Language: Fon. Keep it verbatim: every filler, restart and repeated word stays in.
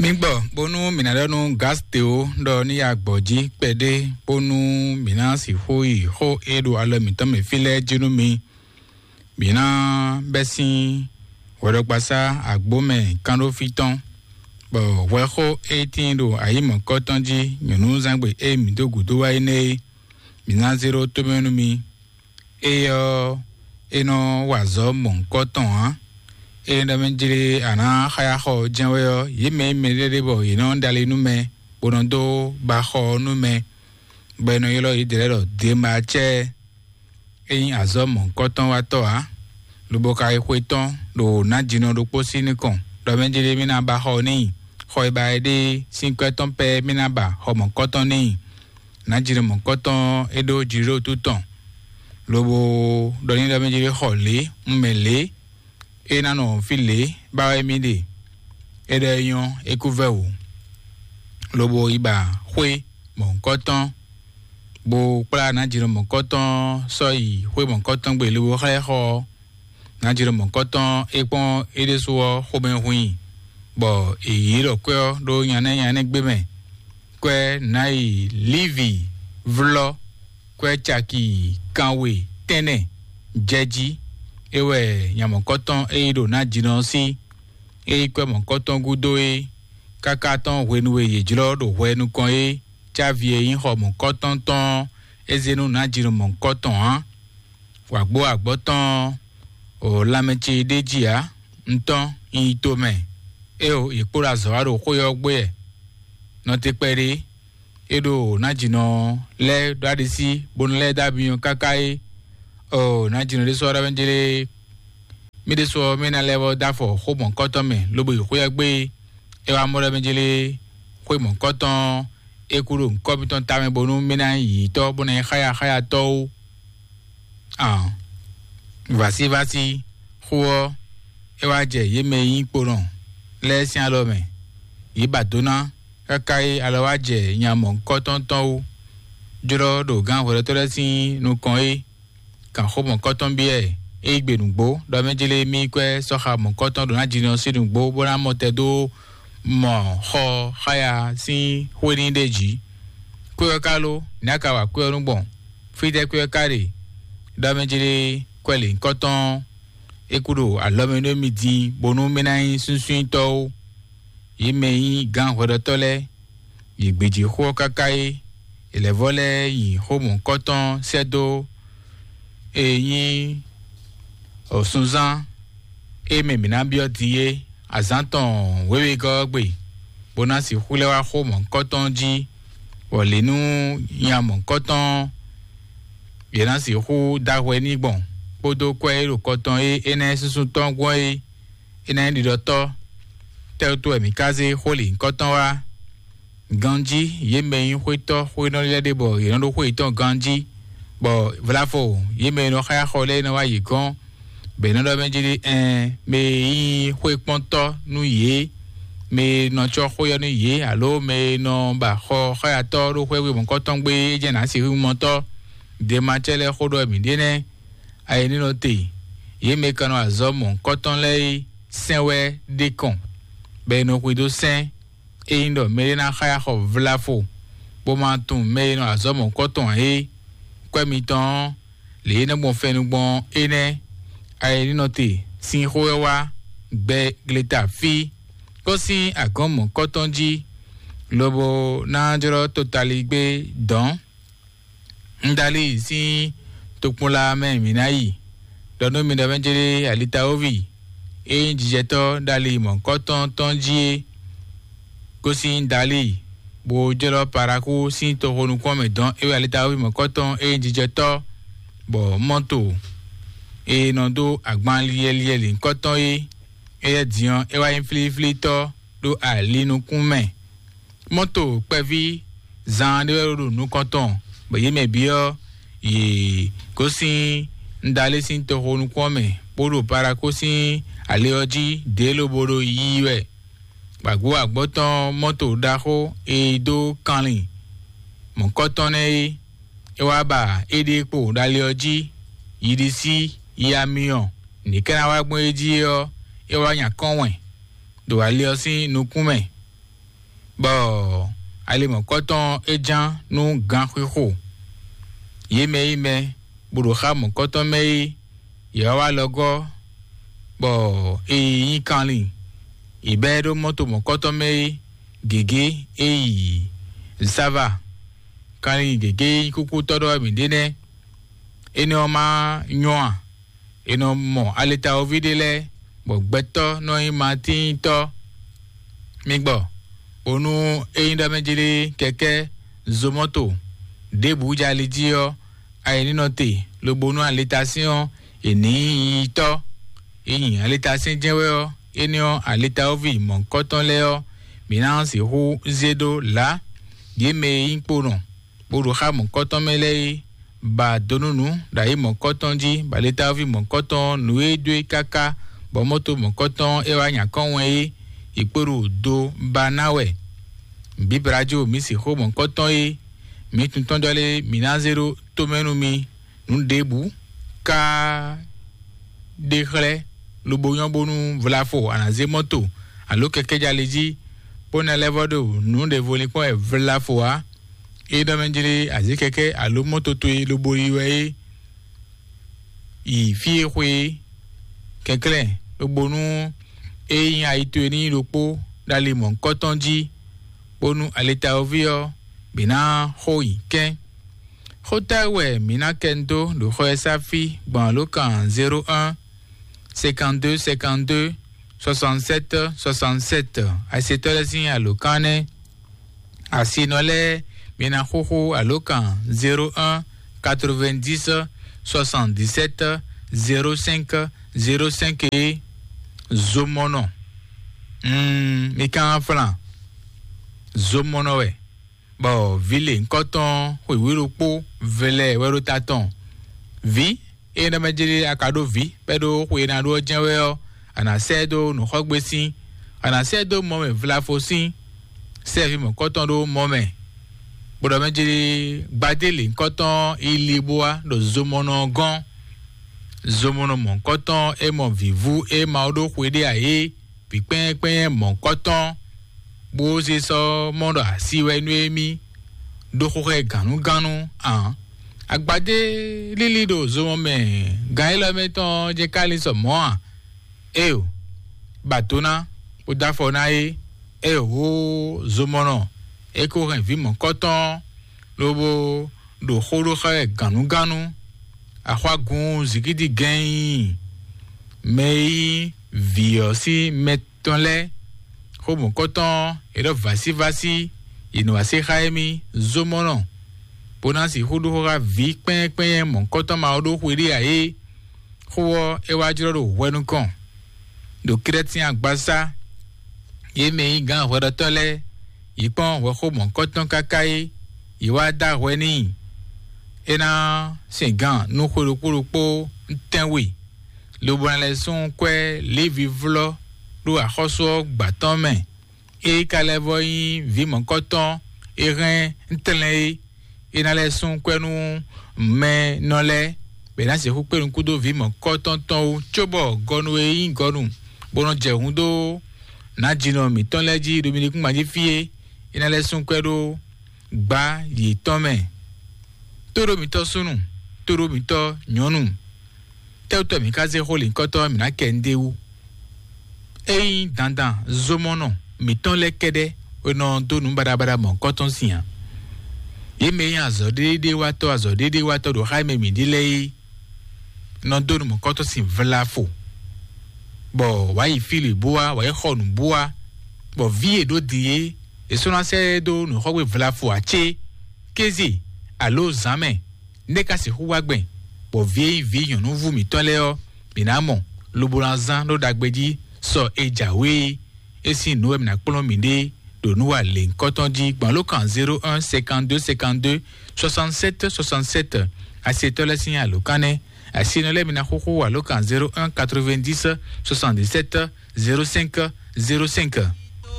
Mi gbɔ bónú mǐ ná ɖɔ nú Gasteo ɖɔ ní ya gbɔ̌ jí kpɛɖé, bónú mǐ ná sixú yi xó e ɖo alɔ mǐtɔn mɛ fí lɛ́ɛ jí nú mi. Mǐ ná bɛ́ sín hwɛɖɔkpasá agbǒmɛ kánɖófí tɔn, bɔ hwɛxó e tíin ɖo ayǐmɔ̌kɔ́ tɔn jí nyɔ̌nuzángbe e mǐ dó gǔdo wá é nɛ́ é, mǐ ná zé ɖó tómɛ nú mi. Éyɛ́ ɔ́, é nɔ wa azɔ̌ mɔ̌hunkɔtɔn ǎ. Ényí ɖɔ mɛ jlé a nǎ xáya xɔ jɛ́n wɛ ɔ́, yě mɛ e mɛ ɖé ɖe bɔ yě nɔ ɖali nú mɛ, bó nɔ dó ba xɔ ɔ́ nú mɛ, bɔ è nɔ ylɔ́ yědɛɛ lɛ́ɛ ɖɔ Demacɛ́ɛ. É nyí azɔ̌ mɔ̌hunkɔtɔn watɔ́ ǎ, lobo ka yi xwe tɔn ɖo nǎjínɔ ɖokpó sín nukɔn, ɖɔ mɛ jlé mì ná ba xɔ n'i, xɔ e ba é ɖe sín kwɛ́ tɔn pɛ́ mì ná ba xɔ mɔ̌hunkɔtɔn n'i. Nǎjínɔ mɔ̌hunkɔtɔn é ɖó jǐɖótú tɔn, lobo ɖɔ n'i ɖɔ mɛ jlé xɔ lě, un mɛ lě, é ná nɔ fí lě ba wɛ mì ɖe. É ɖɔ é nyɔ́, é kú vɛ́ wǔ, lobo yi ba xwé mɔ̌hunkɔtɔn, bó kplá nǎjínɔ mɔ̌hunkɔtɔn sɔ́ yi xwé mɔ̌hunkɔtɔn gbe, lobo xlɛ́ xɔ ɔ́. Nǎjínɔ mɔ̌hunkɔtɔn é kpɔ́n é ɖésú ɔ́ xomɛ hun i, bɔ è yǐ ɖɔ kwɛ́ ɔ́ ɖó nyanɛ́ nyanɛ́ gbé mɛ. Kwɛ́ nǎ yi Lívi vlɔ́ kwɛ́ caki kanwe tɛ́nnɛ jɛ jí. É wɛ nya mɔ̌hunkɔtɔn e yi ɖo nǎjínɔ ɔ́ sí. É yi kwɛ́ mɔ̌hunkɔtɔn gúdo é, káká tɔn hwenu e yě jlɔ́ ɖo hwɛ nukɔn é, cávi e nyí xɔ mɔ̌hunkɔtɔn tɔn ɔ́, é zé nú nǎjínɔ mɔ̌hunkɔtɔn ǎ. Wǎgbó agbɔ̌ tɔn ɔ́, lanmɛ ce ɖ'é jí ǎ. Un tɔ́n, un yi tomɛ. Éeǒ, yě kpo ɖo azɔ̌ wa ɖo xwé ɔ́ gbe wɛ. Nɔ te kpɛɖé, é ɖo nǎjínɔ lɛ́ɛ ɖó aɖisí, bónú lɛ́ɛ dó amyɔ káká é. Oo, nǎjínɔ ɖésú ɔ́ ɖɔ mɛ jlé, mì ɖésú ɔ́, mì ná lɛ́ vɔ́ dó afɔ xó mɔ̌hunkɔtɔn mɛ, lobo yi xwé ɔ́ gbe. É wá mɔ ɖɔ mɛ jlé, xwé mɔ̌hunkɔtɔn é kú ɖo nǔkɔ mitɔn tamɛ, bónú mì ná nyí yǐyítɔ́, bó ná nyí xáyaxáyatɔ́ ó. Ǎ, vǎsívásí xó ɔ́, é wá jɛ yě mɛ e nyí kponɔ lɛ́ɛ sín alɔ mɛ. Yě ba dó ná, káká é alɔ wá jɛ nya mɔ̌hunkɔtɔn tɔn wú, jlɔ́ ɖo gǎn hwɛɖɔtɔ́ lɛ́ɛ sín nukɔn é. Kan xó mɔ̌kɔtɔn byɔ́ ɛ, é yí gbe nǔgbó, ɖɔ mɛ jlé mì kwɛ́ sɔ́ xa mɔ̌kɔtɔn ɖo ná jinɔ sín nǔgbó, bó ná mɔ tɛ dó mɔ xɔ xáya sín xwé ní ɖe jí. Kwɛ́ ɔ́ ka ló, nɛ̌ a ka wa kwɛ́ ɔ́ nú gbɔn? Fítɛ́ kwɛ́ ɔ́ ka ɖe? Ɖɔ mɛ jlé kwɛ́ lěhunkɔtɔn é kú ɖo alɔ mɛ nú émí din, bónú mì ná nyí súnsúnyítɔ́ ó. Yě mɛ e nyí gǎn hwɛɖɔtɔ́ lɛ́ɛ, yě gbějé xó ɔ́ káká é, yě lɛ́ vɔ́ lɛ́ nyi xó mɔ̌hunkɔtɔn sɛ́ dó e nyí sunzán e mɛ mǐ ná byɔ́ din é, azǎn tɔn wěwegɔ́ ɔ́ gbe, bó ná sixú lɛ́ wá xó mɔ̌hunkɔtɔn jí, bɔ lě nú nya mɔ̌hunkɔtɔn yě ná sixú dó ahwɛ n'i gbɔn, kpódó kwɛ́ e ɖo kɔ tɔn e é ná nyí súnsún tɔn gbɔn é, é ná nyí ɖiɖɔtɔ́. Tɛ́ wútu wɛ mǐ ka zé xó lǐhunkɔtɔn wá? Ganjí, yě mɛ e nyí xwétɔ́ xwénɔ lɛ́ɛ ɖe bɔ yě nɔ ɖó xwé yětɔn ganjí, bɔ vlafo yě mɛ e nɔ xáya xɔ lɛ́ɛ nɔ wá yě gɔ́n, bɔ è nɔ ɖɔ mɛ jí ɖi ɛn mɛ e nyí xwékpɔ́ntɔ́ nú yě, mɛ e nɔ cɔ́ xwé ɔ́ nú yě, alo mɛ e nɔ ba xɔ xáyatɔ́ ɖó xwé mɔ̌kɔtɔn gbé é jɛ́n nǎ sixú mɔtɔ́. Demacɛ́ lɛ́ɛ xó ɖɔ mǐ ɖe nɛ́. Ayǐ ní nɔ te, yě mɛ e ka nɔ azɔ̌ mɔ̌hunkɔtɔn lɛ́ɛ é sɛn wɛ ɖe kɔn, bɔ è nɔ xwedó sɛ́n. Ényí ɖɔ mɛɖé ná xáya xɔ vlafo, bó ma tunwun mɛ e nɔ azɔ̌ mɔ̌hunkɔtɔn ǎ é, kwɛ́ mitɔn ɔ́, lě e é nɔ gbɔn fɛnnu gbɔn ɔ́, énɛ́. Ayǐ ní nɔ te sín xó wɛ wá gbɛ gleta fí, kó sín agɔ̌n mɔ̌hunkɔtɔn jí, lobo ná jlɔ́ totaligbé dɔ̌n. Un ɖo ali sín tokpɔnla mɛ mǐ ná yi, ɖɔ nú mi ɖɔ mɛ jlé alitawovi e nyí jijɛtɔ́ ɖo ali mɔ̌kɔtɔn tɔn jí é gosín Dali, bó jlɔ́ Paraku sín toxo nukún mɛ dɔn é wɛ alitawovi mɔ̌kɔtɔn e nyí jijɛtɔ́, bɔ mɔto e nɔ dó agban liɛliɛ lǐnkɔtɔn é, éyɛ́ din ɔ́, é wá nyí flíflítɔ́ ɖo ali nukún mɛ. Mɔto kpɛví zan ɖé wɛ ɖo nukɔn tɔn, bɔ yě mɛ bǐ ɔ́, yě gosín Ndalé sín toxo nukún ɔ́ mɛ, bó ɖo Palakó sín ali ɔ́ jí dě lobo ɖo yiyi wɛ. Gbǎgbó agbɔ̌ tɔn mɔto ɖaxó e dó kanlin mɔ̌kɔtɔn nɛ́ é, é wá ba éɖée kpo ɖo ali ɔ́ jí, yiɖisí, yi amyɔ, nǐ ká ná wá gbɔn é jí é ɔ́, é wá nya kɔ́n wɛn ɖo ali ɔ́ sín nukún mɛ. bɔ ali mɔ̌kɔtɔn é ján nú ganxixo. Yě mɛ e nyí mɛ bó ɖo xá mɔ̌kɔtɔn mɛ é, yě wá wá alɔgɔ́, bɔ è yi nyí kanlin. È bɛ́ ɖó mɔ́to mɔ̌kɔtɔn mɛ é, gěgé é yi Sava. Kanlin gěgé é nyí kúkútɔ́ ɖɔ wɛ mǐ ɖe nɛ́. Énɛ́ ɔ́ ma nyɔ́ a? È nɔ mɔ aletawoví ɖé lɛ́ɛ, bɔ gbɛtɔ́ nɔ nyí matíntɔ́. Mi gbɔ, bónú é nyí ɖɔ mɛ jlí kɛkɛ́ zomɔ́to ɖěbǔ jɛ ali jí ɔ́, ayǐ ní nɔ te, lobo nú aletasyɔ́n è nǐ yi tɔ́. É nyi aletasyɛ́n jɛ́n wɛ ɔ́, énɛ́ ɔ́, aletawoví mɔ̌hunkɔtɔn lɛ́ɛ ɔ́, mǐ ná sixú zé ɖó lǎ. Yě mɛ e nyí kponɔ bó ɖo xá mɔ̌kɔtɔn mɛ lɛ́ɛ é, ba do nú nǔ ɖo ayǐ mɔ̌kɔtɔn jí, bɔ aletaví mɔ̌kɔtɔn nǔ e dó e káká, bɔ mɔ́to mɔ̌kɔtɔn é wá nya kɔ́n wɛn é, è kpo ɖo do ba ná wɛ. Bǐblá jó mǐ sixú mɔ̌kɔtɔn é, mǐ tuntɔ́n ɖɔ lé mǐ ná zé ɖó tomɛ nú mi. Nǔ ɖěbǔ ká ɖe xlɛ́, lobo nyɔ́ bónú vlafo a nǎ zé mɔ́to alo kɛkɛ́jali jí, bó ná lɛ́ vɔ́ ɖo nǔ ɖěvo linkpɔ́n wɛ vlafo ǎ. É ɖɔ mɛ jlé azǐkɛkɛ́ alo mɔ́to towe lobo yi wɛ é, yi fí e xwe é, kɛnklɛ́n lobo nú é nyí ayi towe ní nyí ɖokpó ɖo ali mɔ̌hunkɔtɔn jí, bónú alitawoví ɔ́ bǐ ná xo nyi kɛ́n. Xó tɛ́ wɛ mǐ ná kɛ dó ɖo xɔ e sá fí gbɔn alǒkan zéro un, cinquante-deux cinquante-deux, soixante-sept soixante-sept? Asetɔ́ lɛ́ɛ sín alǒkan nɛ́. Asinɔ lɛ́ɛ, mi ná xúxú alǒkan zéro un, quatre-vingt-dix, soixante-dix-sept, zéro cinq, zéro cinq é. Zomɔnɔ. Mm, mi kan flan. Zomɔnɔ wɛ. Bɔ vǐ lěhunkɔtɔn xwǐwí ɖokpó vlɛ wɛ ɖo ta tɔn. Vǐ, ényí ɖɔ mɛ jlé a ka ɖó vǐ bɔ é ɖó xwe e ná ɖó ɔ́ jɛ́n wɛ ɔ́, a nǎ sɛ́ ɛ dó nǔxɔ́gbé sín, a nǎ sɛ́ ɛ dó mɔ mɛ vlafo sín, sɛ́ vǐ mɔ̌kɔtɔn ɖó mɔ mɛ, bó ɖɔ mɛ jlé gbadé lěhunkɔtɔn yi li bó wá ɖo zomɔnɔ ɔ́ gɔ́n. Zomɔnɔ mɔ̌kɔtɔn e mɔ vǐvú e Mawu ɖó xwe ɖé ǎ é, vǐ kpɛ́nyɛ́kpɛ́nyɛ́ mɔ̌kɔtɔn, bó zé sɔ́ mɔ ɖɔ asi wɛ nú émí, ɖó xóxɛ gǎnnugánnu ǎ. Agbadé lílí ɖo zomɔ mɛ gǎn élɔ́ mɛ tɔn jɛ́n ka lin sɔ mɔ̌ ǎ. Éyo, ba do ná, bó dó afɔ ná é. Éyo, zomɔnɔ, é ko hɛn vǐ mɔ̌kɔtɔn, lobo ɖo xó ɖó xá wɛ gǎnnugánnu. Axwágun zikídi gɛ́n nyí mɛ e nyí vǐ ɔ́ sín mɛ tɔn lɛ́ɛ, xó mɔ̌kɔtɔn, è ɖɔ vǎsívásí, yě nɔ wá se xá émí zomɔnɔ, bó ná sixú ɖó xó xá vǐ kpɛ́nyɛ́kpɛ́nyɛ́ mɔ̌kɔtɔn ma ɔ́ ɖó xwe ɖé ǎ é. Xó ɔ́, é wá jlɔ́ ɖo hwɛ nukɔn, ɖo Krɛ́tín agbasá. Yě mɛ e nyí gǎn hwɛɖɔtɔ́ lɛ́ɛ, yě kpɔ́n hwɛxó mɔ̌kɔtɔn káká é, yě wá dó ahwɛ n'i. É ná sin gǎn nú xwe ɖokpó ɖokpó tɛ́nwe, lobo ná lɛ́ sú kwɛ́ Lévi vlɔ́ ɖó axɔ́sú ɔ́ gbǎ tɔn mɛ. É ka lɛ́ vɔ́ nyí vǐ mɔ̌kɔtɔn e hɛn tlɛn é, é ná lɛ́ sú kwɛ́ nú mɛ nɔ lɛ́ɛ, bɔ è nǎ sixú kpé nukún dó vǐ mɔ̌kɔtɔn tɔn wú, cóbɔ gɔnu e nyí gɔnu, bó nɔ jɛ hǔn dó nǎjínɔ mǐtɔn lɛ́ɛ jí ɖo mi nukúngbǎn jí fí é, é ná lɛ́ sú kwɛ́ ɖó gbǎ yětɔn mɛ. Tóɖó mǐtɔn súnnu, tóɖó mǐtɔn nyɔ̌nu, tɛ́wútɔ́ mǐ ka zé xó lǐnkɔ́tɔ́ mǐ ná kɛ ndé wú? Ényí dandan zomɔnɔ mǐtɔn lɛ́ɛ kɛ́ɖɛ́ e nɔ dó nǔ baɖabaɖa mɔ̌kɔtɔn sin a? Yě mɛ e nyí azɔ̌ɖéɖéwatɔ́ azɔ̌ɖéɖéwatɔ́ ɖo xá e mɛ mǐ ɖe lɛ́ɛ é nɔ dó nǔ mɔ̌kɔtɔn sin vlafo, bɔ wǎ yi fí lě bó wá, wǎ yi xɔ nǔ bó wá, bɔ vǐ e ɖó din é, è sɔ́ ná sɛ́ ɛ dó nǔxɔ́gbé vlafo ǎ cé? Kéze alo zǎn mɛ, nɛ́ ka sixú wá gbɛn, bɔ vǐ e nyí vǐ nyɔ̌núvú mǐtɔn lɛ́ɛ ɔ́, mǐ ná mɔ, lobo ná zán ɖó ɖagbe jí sɔ e jǎwe é? É sín nǔ wɛ mǐ ná kplɔ́n mǐɖée ɖo nǔ wa lěhunkɔtɔn jí gbɔn alǒkan zéro un cinquante-deux cinquante-deux soixante-sept soixante-sept. Asetɔ́ lɛ́ɛ sín alǒkan nɛ́. Asinɔ lɛ́ɛ mi ná xúxú alǒkan zéro un quatre-vingt-dix soixante-dix-sept zéro cinq zéro cinq.